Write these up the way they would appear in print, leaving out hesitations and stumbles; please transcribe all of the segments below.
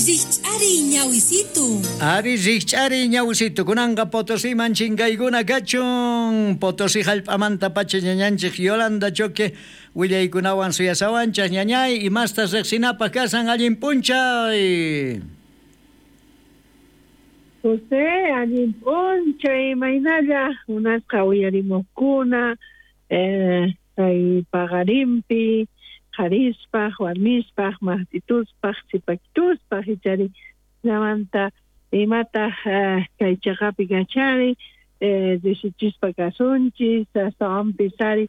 Rikch'ariy ñawisitu. Ari rikch'ariy ñawisitu kunanqa Potosiman chinkaykuna kachun. Potosí hallp'amantapacha ñañanchik Yolanda Choque willaykunawan suyasawanchik ñañay imastas riqsinapaq kasan allin p'unchay. José, allin p'unchay imaynalla munasqa uyarimuqkuna kay paqarinpi qharispaq, warmispaq, maqtituspaq, sipakituspaq ichari hinamanta imataq kay chaqapi kachari riqsichispa kasunchis astawanpis ari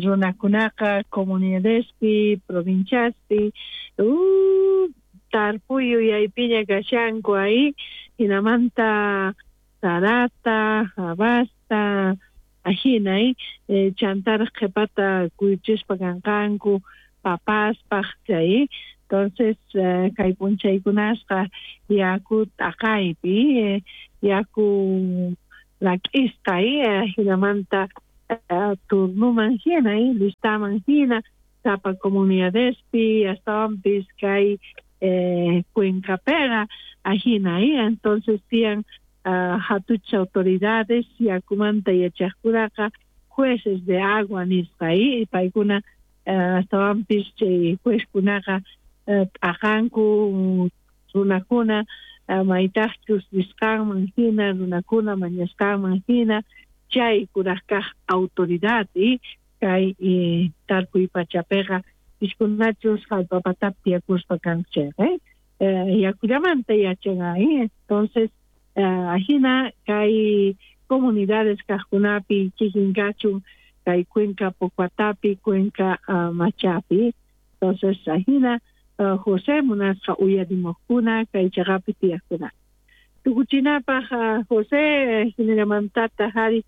runakunaqa comunidadespi, provinciaspi tarpuy yuyaypiña kashanku ahi hinamanta sarata, habasta ajina chantaraq qhipata kuyuchispa kanqanku papaspaq chay entonces kay p'unchaykunasqa yaku t'aqaypi yaku rak'isqa hinamanta turnuman hina listaman hina sapa comunidadespi astawanpis kay cuencapiqa ajina entonces tiyan hatuchaq autoridades yakumanta yachaqkunaqa jueces de agua nisqa paykuna astawanpis chay juezkunaqa t'aqanku runakuna maytaqchus risqanman hina runakuna mañasqanman hina chay kuraq kaq autoridad kay tarpuy pachapiqa piskunachus hallp'a patapi tiyakuspa kanku chayqa yakullamanta yachan entonces ajina kay comunidades kaqkunapi kikin kachun kay Cuenca Pocuatapi, Cuenca Machapi entonces ajina José munasqa uyarimuqkuna kay chaqapi tiyaqkuna tukuchinapaq José hinallamantataq ari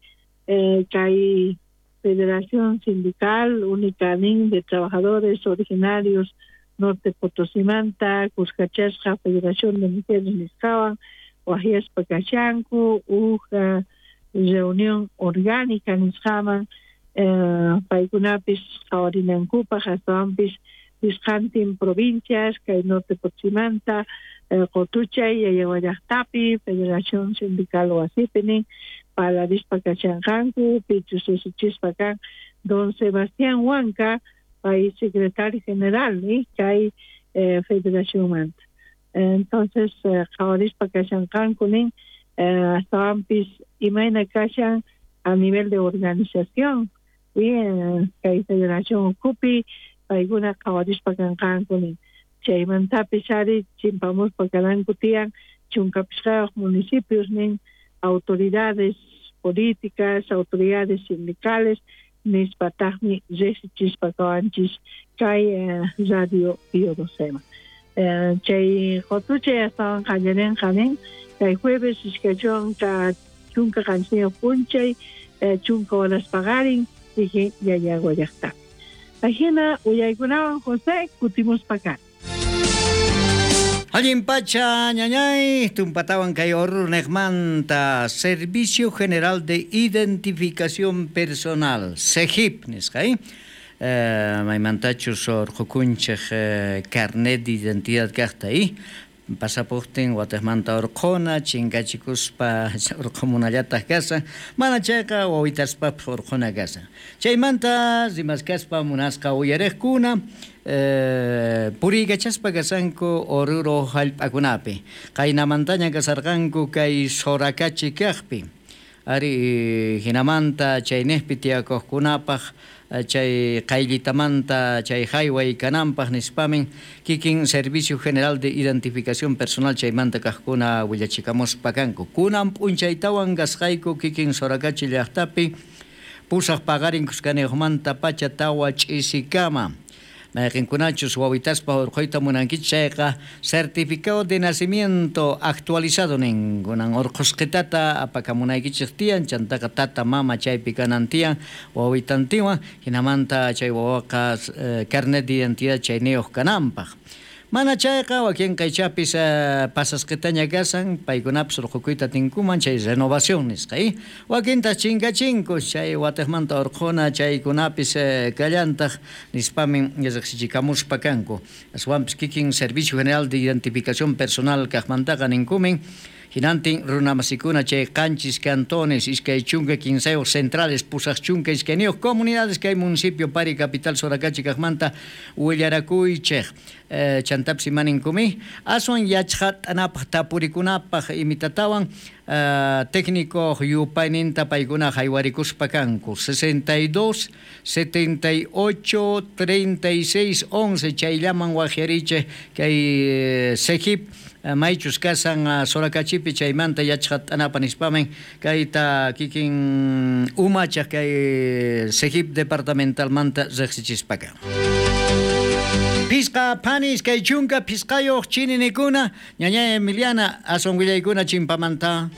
kay Federación Sindical Única nin de Trabajadores Originarios Norte Potosimanta kuskachasqa Federación de Mujeres nisqawan waqyaspa kashanku huk reunión orgánica nisqaman paykunapis qhawarinankupaq astawanpis pisqantin provincias kay Norte Potosimanta Qotuchay Yayagua llaqtapi Federación Sindical wasipi nin parlarispa kashanqanku pichus usuchispa kan don Sebastián Huanca pay secretario general kay federacionmanta entonces qhawarispa kashanqanku nin astawanpis imayna kashan a nivel de organización kay federación ukhupi paykuna qhawarispa kanqanku nin chaymantapis ari chimpamuspa karanku tiyan chunka pishqayuq municipios nin autoridades políticas, autoridades sindicales nispataqmi riqsichispa kawanchis kay radio Pío XII. Chay qotuchay astawan qallarinqa nin kay jueves iskay chunka qanchisniyuq p'unchay 10 horas paqarin kikin Yayagua llaqtapi. Ajina uyaykunawan José kutimuspa kani. Allin pacha ñañay tumpatawan kay Oruro niqmanta Servicio General de Identificación Personal SEGIP nisqa maymantachus urqukunchik carnet de identidad kaqta pasapuqtin watiqmanta urquna chinkachikuspa urqumunallataq kasan mana chayqa wawitaspapas urquna kasan chaymanta rimaskaspa munasqa uyariqkuna puriykachaspa kasanku Oruro hallp'akunapi qaynamantaña kasarqanku kay Soracachi kaqpi ari hinamanta chayniqpi tiyakuqkunapaq chay qayllitamanta chay hayway kananpaq nispamin kikin Servicio General de Identificación Personal chaymanta kaqkuna willachikamuspa kanku kunan p'unchaytawan kasqayku kikin Soracachi llaqtapi pusaq paqarin kuskaniyuqmanta pacha tawa ch'isikama mayqinkunachus wawitaspa urquyta munankichik chayqa certificado de nacimiento actualizado nin kunan urqusqitata apakamunaykichik tiyan chantaqa tata mama chaypi kanan tiyan wawitantinwan hinamanta chay wawaqa carnet de identidad chayniyuq kananpaq. Mana chayqa wakinqa ichapis pasasqitaña kashan, paykunapis urqhukuyta atinkuman chay renovación nisqa, wakintaq chinkachinku chay watiqmanta urqhuna chaykunapis kallantaq nispamin riqsichikamuspa kanku. Aswanpis kikin Servicio General de Identificación Personal kaqmantaqa ninkumin hinantin runamasikuna chay 7 cantones, 23 centrales, 82 comunidades kay municipio Pari capital Soracachi kaqmanta willarakuychej. Chantapis imaninkumi aswan yachqat'anapaq tapurikunapaq imitatawan técnico yupayninta paykuna haywarikuspa kanku 62 78 36 11 chayllaman waqyarichej kay SEGIP maychus kasan Soracachipi chaymanta yachqat'anapa nispamen kayta kikin umachaq kay SEGIP departamentalmanta riqsichispaka. Pisqa panis kay chunka pisqayuq chininikuna ñaña Emiliana aswan willaykuna chimpamanta.